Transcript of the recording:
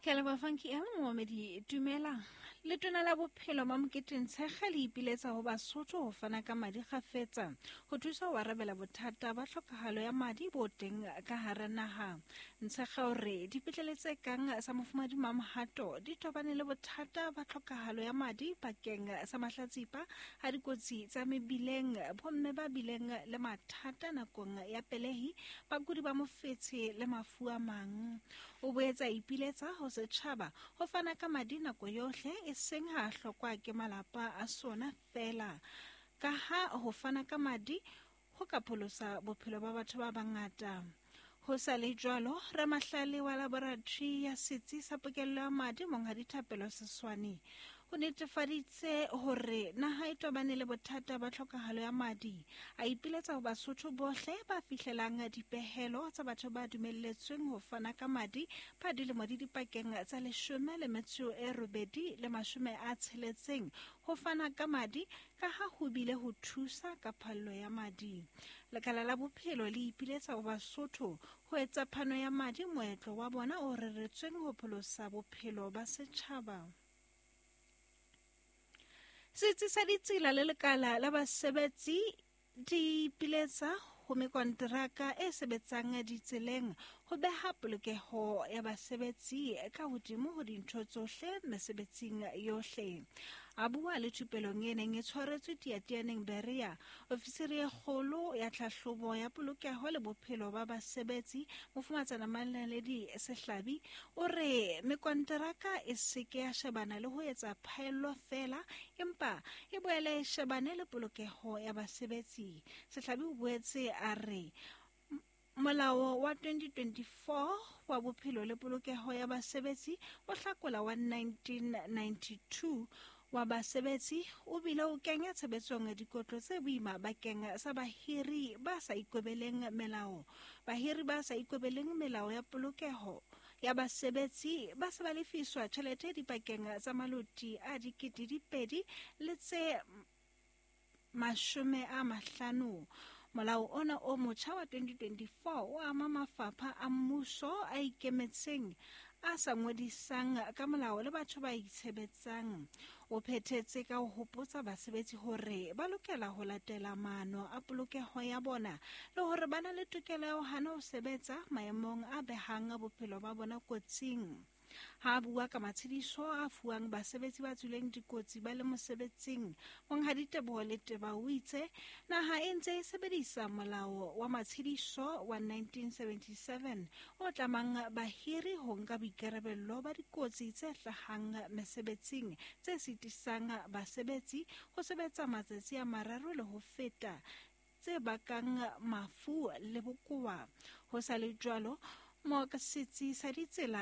Ke a leboha Funky M momamedi dumela. Letona la bophelo Mamokete Ntshekge le ipiletsa ho Basotho ho fana ka madi kgafetsa ho thusa ho arabela bothata ba tlhokahalo ya madi bo teng ka hara naha. Ntshekge o re dipetlele tse kang sa Mofumadi Mamohato di tobane le bothata ba tlhokahalo ya madi bakeng sa mahlatsipa a dikotsi tsa mebileng, bomme ba bileng le mathata nakong ya pelehi, bakudi ba mofetshe le mafu a mang. O boetse a ipiletsa ho setjhaba ho fana ka madi nako yohle e seng ha a hlokwa ke malapa a sona feela, kaha ho fana ka madi ho ka pholosa bophelo ba batho ba bangata. Ho sa le jwalo, ramahlale wa laboratori ya setsi sa pokello ya madi Monghadi Thapelo Seswane o netefaditse hore naha e tobane le bothata ba tlhokahalo ya madi. A ipiletsa ho Basotho bohle ba fihlelang dipehelo tsa batho ba dumelletsweng ho fana ka madi ba dilemo di dipakeng tsa 18 le 60 ho fana ka madi ka ha ho bile ho thusa ka phallo ya madi. Lekala la bophelo le ipiletsa ho Basotho ho etsa phano ya madi moetlo wa bona o reretsweng ho pholosa bophelo ba setjhaba. Setsi sa ditsela le lekala la basebetsi di ipiletsa ho mekonteraka e sebetsang ditseleng ho beha polokeho ya basebetsi ka hodimo ho dintho tsohle mesebetsing yohle. A bua le thupelong e neng e tshwaretswe Tiatianeng Berea, ofisiri e kgolo ya tlhahlobo ya polokeho le bophelo ba basebetsi, Mofumatsana Manaledi Sehlabi, o re mekonteraka e se ke ya shebana le ho etsa phaello feela, empa e boele e shebane le polokeho ya basebetsi. Sehlabi o boetse a re Molao wa 2024 wa Bophelo le Polokeho ya Basebetsi o hlakola wa 1992 wa basebetsi o bile o kenya tshebetsong dikotlo tse boima bakeng sa bahiri ba sa ikobeleng melao. Bahiri ba sa ikobeleng melao ya polokeho ya basebetsi ba se ba lefiswa tjhelete dipakeng tsa maloti a 2000 le tse 50. Molao ona o motjha wa 2024 o ama mafapha a mmuso a ikemetseng a sa ngodisang ka molao le batho ba itshebetsang. O phethetse ka ho hopotsa basebetsi hore ba lokela ho latela maano a polokeho ya bona le hore ba na le tokelo ya ho hana ho sebetsa maemong a behang bophelo ba bona kotsing. Ha a bua ka matshediso a fuwang basebetsi ba tswileng dikotsi ba le mosebetsing, Monghadi Teboho Leteba o itse naha e ntse e sebedisa molao wa matshediso wa 1977 o tlamang bahiri ho nka boikarabello ba dikotsi tse hlahang mesebetsing tse sitisang basebetsi ho sebetsa matsatsi a mararo le ho feta, tse bakang mafu le bokowa. Ho sa le jwalo, mooka setsi sa ditsela